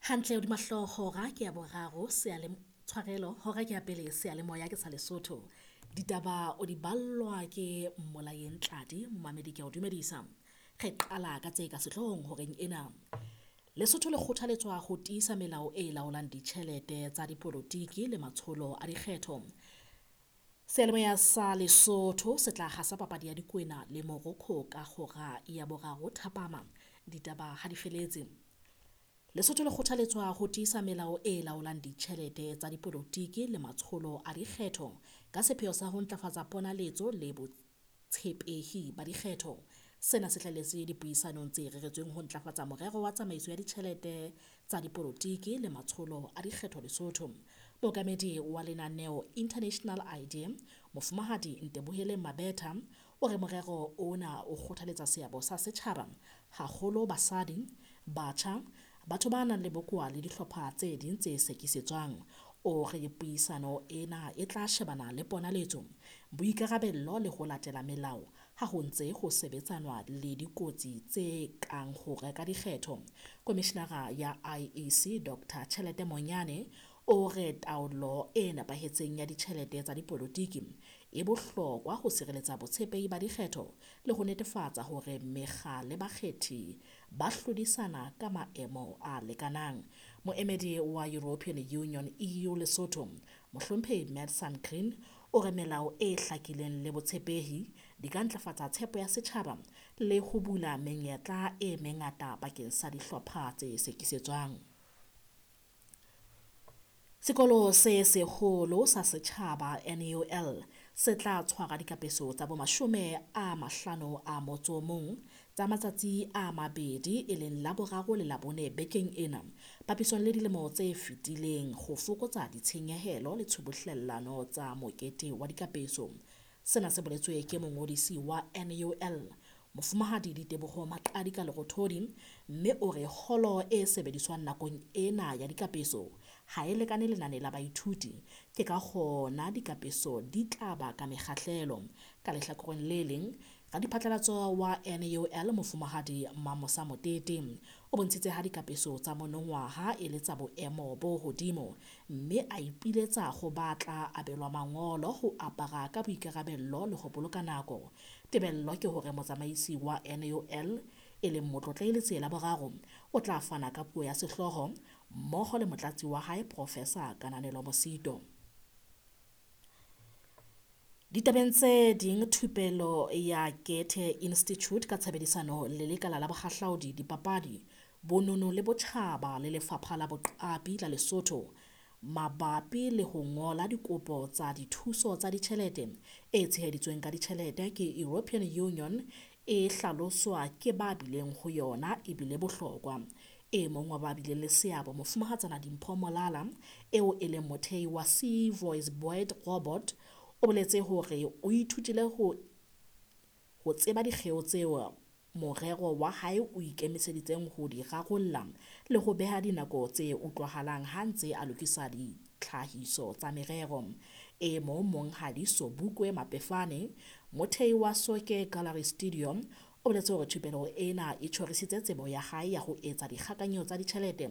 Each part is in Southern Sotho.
Hantle hodima hlooho hora ke ya boraro tshwarelo hora ke ya pele seyalemoya ke sa Lesotho. Ditaba o di ballwa ke Mmolayeng Tladi, momamedi ke a o dumedisa. Re qala ka tse ka sehloohong horeng ena. Lesotho le kgothaletswa ho tiisa melao e laolang ditjhelete tsa dipolotiki le matsholo a dikgetho. Seyalemoya sa Lesotho se tla hasa papadi ya Dikwena le Morocco ka hora ya boraro thapama. Ditaba ha di feletse. Lesotho le kgothaletswa ho tiisa melao e laolang ditjhelete tsa dipolotiki le matsholo a dikgetho ka sepheo sa ho ntlafatsa ponaletso le botshepehi ba dikgetho. Sena se hlahelletse dipuisanong tse reretsweng ho ntlafatsa morero wa tsamaiso ya ditjhelete tsa dipolotiki le matsholo a dikgetho Lesotho. Mookamedi wa lenaneo International ID, Mofumahadi Nteboheleng Mabetha, o re morero ona o kgothaletsa seabo sa setjhaba, haholo basadi, batjha, batho ba nang le bokowa le dihlopha tse ding tse sekisetswang. O re puisano ena e tla shebana le ponaletso, boikarabello le ho latela melao ha ho ntse ho sebetsanwa le dikotsi tse kang ho reka dikgetho. Komishenara ya IEC Dr Tjhelete Monyane o re taolo e nepahetseng ya ditjhelete tsa dipolotiki e bohlokwa ho sireletsa botshepehi ba dikgetho le ho netefatsa hore mekga le bakgethi ba hlodisana ka maemo a lekanang. Moemedi wa European Union EU Lesotho, Mohlomphehi Matt Green, o re melao e hlakileng le botshepehi di ka ntlafatsa tshepo ya setjhaba le ho bula menyetla e mengata bakeng sa dihlopha tse sekisetswang. Sekolo se seholo sa setjhaba NUL se tla tshwara dikapeso tsa bo 51 tsa matsatsi a mabedi e leng Laboraro le Labone bekeng ena, papisong le dilemo tse fetileng ho fokotsa ditshenyehelo le tshubuhlellano tsa mokete wa dikapeso. Sena se boletswe ke mongodisi wa NUL, Mofumahadi Diteboho Maqadika Lerothodi, mme o re holo e sebediswang nakong ena ya dikapeso ha e lekane lenane la baithuti, ke ka hona dikapeso di tla ba ka mekgahlelo. Ka lehlakoreng le leng, radiphatlalatso wa NUL Mofumahadi Mamosa Motete o bontshitse ha dikapeso tsa monongwaha e le tsa boemo bo hodimo, mme a ipiletsa ho ba tla abelwa mangolo ho apara ka boikarabello le ho boloka nako. Tebello ke hore motsamaisi wa NUL e leng Motlotlehi Letsie Boraro o tla fana ka puo ya sehlooho mmoho le motlatsi wa hae Professor Kananelo Mosito. Ditabeng tse ding, thupelo ya Goethe Institute ka tshebedisano le Lekala la Bohahlaudi, Dipapadi, Bonono le Botjhaba le Lefapha la Boqapi la Lesotho mabapi le ho ngola dikopo tsa dithuso tsa ditjhelete e tsheheditsweng ka ditjhelete ke European Union e hlaloswa ke ba bileng ho yona ebile bohlokwa. E mong wa ba bileng le seabo, Mofumahatsana Dimpho Molala, eo e leng mothehi wa C Voice Boyd Robot, o boletse hore o ithutile ho tseba dikgeo tseo morero wa hae o ikemiseditseng ho di rarolla le ho beha dinako tse utlwahalang ha ntse a lokisa ditlhahiso tsa merero. E mong Monghadi Sobukwe Mapefane, mothehi wa Soke Gallery Studio, o boletse hore thupelo ena e tjhorisitse tsebo ya hae ya ho etsa dikgakanyo tsa ditjhelete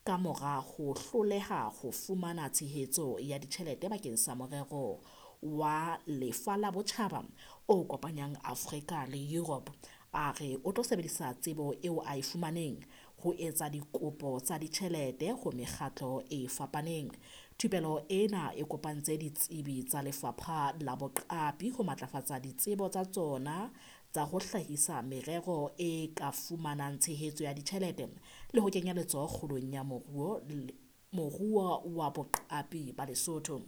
ka mora ho hloleha ho fumana tshehetso ya ditjhelete bakeng sa morero wa Lefa la Botjhaba o kopanyang Afrika le Europe. A re o tlo sebedisa tsebo eo a e fumaneng ho etsa dikopo tsa ditjhelete ho mekgatlo e fapaneng. Thupelo ena e kopantse ditsebi tsa Lefapha la Boqapi ho matlafatsa ditsebo tsa tsona tsa ho hlahisa merero e ka fumanang tshehetso ya ditjhelete le ho kenya letsoho kgolong ya moruo wa boqapi ba Lesotho.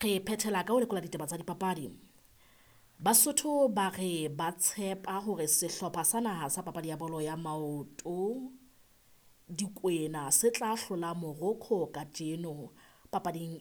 Re phethela ka ho lekola ditaba tsa dipapadi. Basotho ba re ba tshepa hore sehlopha sa naha sa papadi ya bolo ya maoto Dikwena se tla hlola Morocco kajeno papading.